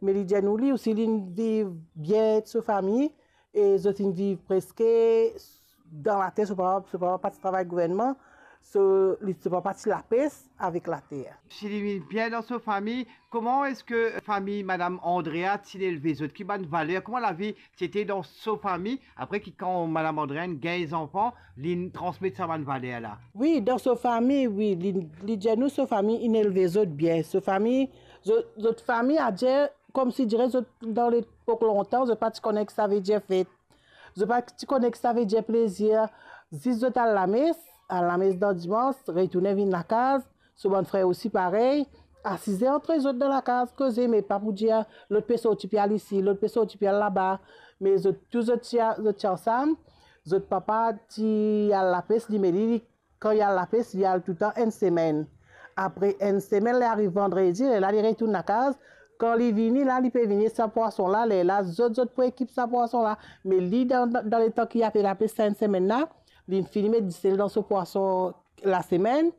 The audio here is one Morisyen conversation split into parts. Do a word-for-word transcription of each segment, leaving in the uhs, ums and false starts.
Me li dir nou li osi linn viv bien ek so fami, e zot inn viv preske dan later. So papa, so papa pa ti travay gouvernman, so li, so papa ti lapes avek later. Si li vinn bien dan so fami, kouma eski fami Madam Andrea ti elve zot? Ki bann valer, kouma lavi ti ete dan so fami? Apre ki kan Madam Andrea inn gagn zanfan, linn transmet sa bann valer la? Wi, dan so fami, wi, li, li dir nou so fami inn elve zot bien. So fami, zot, zot fami, adir, koumsi dire zot dan lepok lontan, zot pa ti kone ki savedir fet. Zot pa ti kone ki savedir plezir. Zis zot al lames, al lames dan dimans, retourne vinn lakaz. So bann frer osi parey, asize antre zot dan lakaz, koze, me pa pou dir lot pe sorti pe al isi, lot pe sorti pe al laba. Me zot tou zot ti, zot ti ansam. Zot papa ti al lapes, li, me li, li, kan li al lapes, li al touletan enn semenn. Apre enn semenn, li ariv vandredi, lerla li retourn lakaz. Kan li vini la, li pe vini sa pwason la, lerla zot, zot pou ekip sa pwason la. Me li, dan, dan letan ki li ape lapes sa enn semenn la, linn fini met disel dan so pwason lasemenn.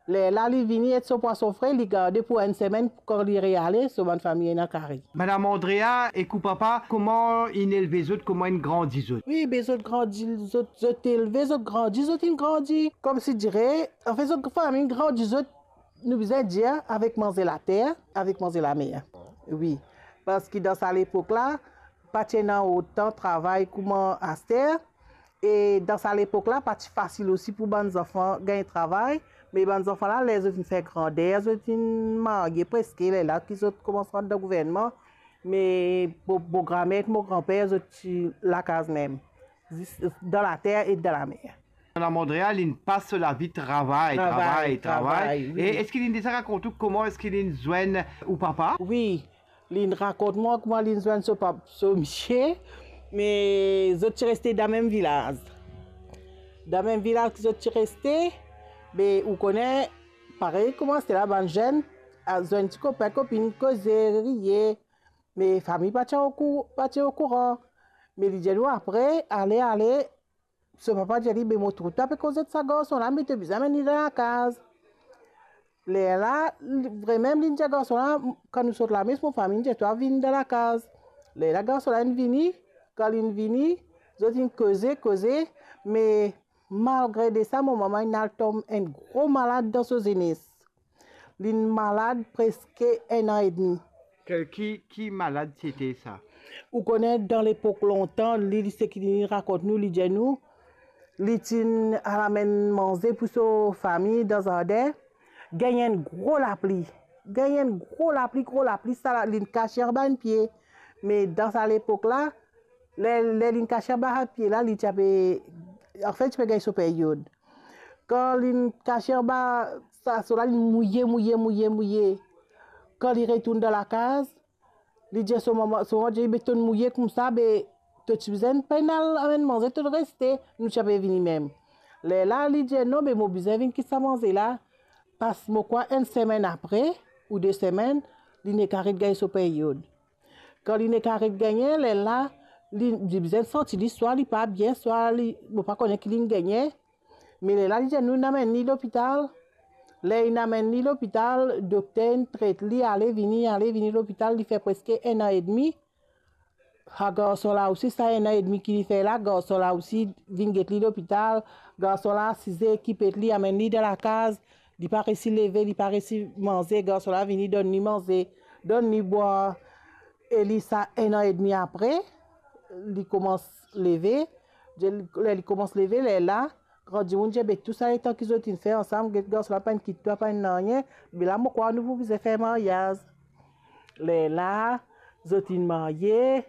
Lerla li vini ek so pwason fre, li garde pou enn semenn, kan li reale, so bann fami ena kari. Madam Andrea, ek ou papa, kouma inn elve zot, kouma inn grandi zot? Wi, be zot grandi, zot, zot elve, zot grandi, zot inn grandi. Koumsi dire, anfet, zot fami inn grandi zot, nou bizin dir, avek manze later, avek manze lamer. Wi, parski dan sa lepok la, pa ti ena otan travay kouma aster. E dan sa lepok la, pa ti fasil osi pou bann zanfan gagn travay, me bann zanfan la, ler zot inn fer grander, zot inn marye preske, lerla ki zot koumans rant dan gouvernman, me mo, mo gramer ek mo granper, zot ti lakaz mem, zis dan later e dan lamer. Madam Andrea, linn pas so lavi travay, travay, travay, travay, wi. E eski linn deza rakont ou kouma eski linn zwenn ou papa? Wi, linn rakont mwa kouma linn zwenn so pap-, so misie, me zot ti reste dan mem vilaz. Dan mem vilaz ki zot ti reste, be ou kone, parey kouma aster la bann zenn, al zwenn ti kopin, kopinn, koze, riye, me fami pa ti okou-, pa ti okouran. Me li dir nou apre, ale, ale, so papa dir li, "Be mo trouv twa pe koz ek sa garson la, me to bizin amenn li dan lakaz." Lerla, li, vremem, linn dir garson la, "Kan nou sort lames, mo fami inn dir twa vinn dan lakaz." Lerla garson la inn vini, kan linn vini, zot inn koze, koze, me malgre de sa, mo mama inn al tom enn gro malad dan so zenes. Linn malad preske enn an edmi. Ki, ki, ki malad ti ete sa? Ou kone dan lepok lontan, li, li seki li rakont nou, li dir nou, li ti'n al amenn manze pou so fami dan zardin, gagn enn gro lapli. Gagn enn gro lapli, gro lapli, sa la, linn kase anba enn pie. Me dan sa lepok la, ler, ler linn kase anba sa pie la, li ti ape, anfet, ti pe gagn so peryod. Kan linn kase anba sa, so la, linn mouye, mouye, mouye, mouye. Kan li retourn dan lakaz, li dir so mama, so mama dir, "Be to'nn mouye koumsa, be to ti bizin pa'nn al amenn manze, to'nn reste, nou ti ape vini mem." Lerla li dir, "Non, be mo bizin vinn kit sa manze la, pas mo krwar enn semenn apre, ou de semenn, linn nek aret gagn so peryod." Kan linn nek aret gagne, lerla, li, li bizin santi li, swa li pa bien, swa li, mo pa kone ki linn gagne. Me lerla, li dir nou, "Amenn li lopital." Ler inn amenn li lopital, dokter inn tret li, ale vini, ale vini lopital, li fer preske enn an edmi. Sa garson la osi, sa enn an edmi ki li fer la, garson la osi vinn get li lopital. Garson la asize, ekip li, amenn li dan lakaz. Li pa resi leve, li pa resi manze. Garson la vini donn li manze, donn li bwar. E li sa enn an edmi apre, li koumans leve. Ler li koumans leve, lerla, gran dimoun dir, "Be tou sa letan ki zot inn fer ansam, get garson la pa'nn kit twa, pa'nn nanye, be la mo krwar nou pou bizin fer maryaz." Lerla, zot inn marye,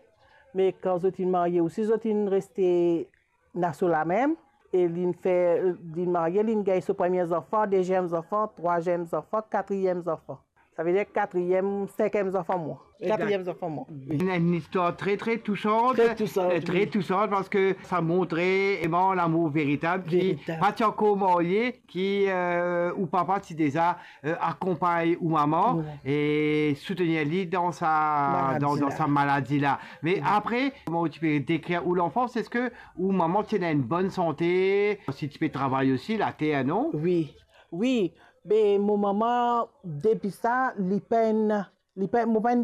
me kan zot inn marye osi, zot inn reste ena so lamem, e linn fer, linn marye, linn gagn so premie zanfan, deziem zanfan, trwaziem zanfan, katriem zanfan. Savedir katriem, sinkiem zanfan mwa. Egzak. Katriem zanfan mwa. Wi. Enn, enn istwar tre, tre tousant. Tre tousant, eh, tre wi. Tousant, parski sa montre vreman lamour veritab ki... Veritab. Pa ti ankor marye, ki, eh, ou papa ti deza, eh, akonpagn ou mama, wi, e soutenir li dan sa, maladi dan, dan la. Sa maladi la. Me, wi, apre, kouma ou ti pe dekrir ou lanfans, eski ou mama ti ena enn bonn sante, si ti pe travay osi later, non? Wi, wi. Be mo mama, depi sa, li pa'nn, li pa'nn, mo pa'nn